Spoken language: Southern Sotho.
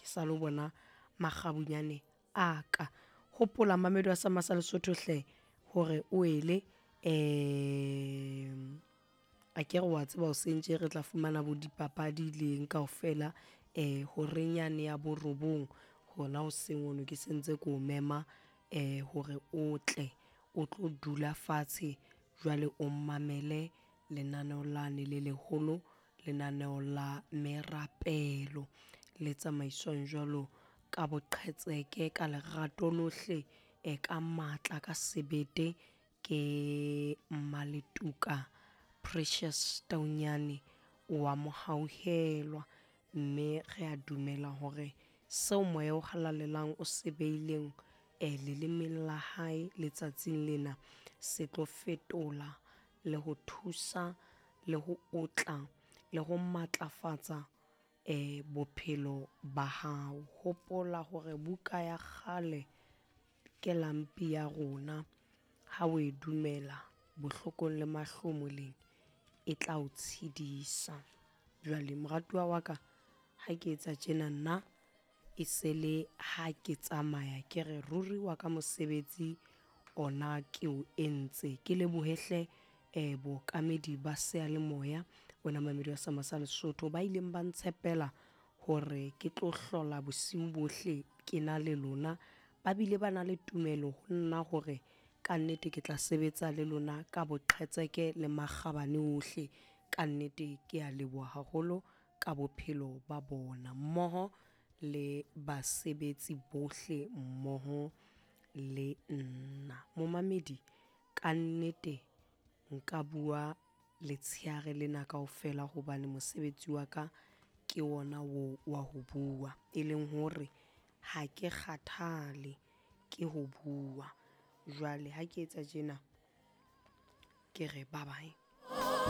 Ke sa lo bona makgabunyane a ka. Hopola mamedi wa Sama sa Lesotho hle hore o ele akere wa tseba hoseng tje re tla fumana bo dipapadi le eng kaofela horeng yane ya borobong hona hoseng hono ke sentse ko mema hore o tle o tlo dula fatshe jwale o mamele lenaneo lane le leholo, lenaneo la merapelo le tsamaiswang jwalo ka boqhetseke, ka lerato lohle, ka matla, ka sebete ke Maletuka Precious Taunyane wa Mohauhelwa. Mme re a dumela hore seo Moya o Halalelang o se beileng lelemeng la hae letsatsing lena se tlo fetola le ho thusa le ho otla le ho matlafatsa bophelo ba hao. Hopola hore buka ya kgale ke lampi ya rona, ha o e dumela bohlokong le mahlomoleng e tla o tshedisa. Jwale moratuwa wa ka, ha ke etsa tjena nna e se le ha ke tsamaya ke re ruri wa ka mosebetsi ona ke o entse. Ke lebohe hle bookamedi ba seyalemoya, wena momamedi wa Sama sa Lesotho, ba ileng ba ntshepela hore ke tlo hlola bosiu bohle ke na le lona. Ba bile ba na le tumelo ho nna hore ka nnete ke tla sebetsa le lona ka boqhetseke le makgabane ohle. Ka nnete ke a leboha haholo ka bophelo ba bona mmoho le basebetsi bohle mmoho le nna. Momamedi, ka nnete nka bua letshehare lena kaofela hobane mosebetsi wa ka ke wona oo wa ho bua. E leng hore ha ke kgathale ke ho bua. Jwale ha ke etsa tjena, ke re bye bye.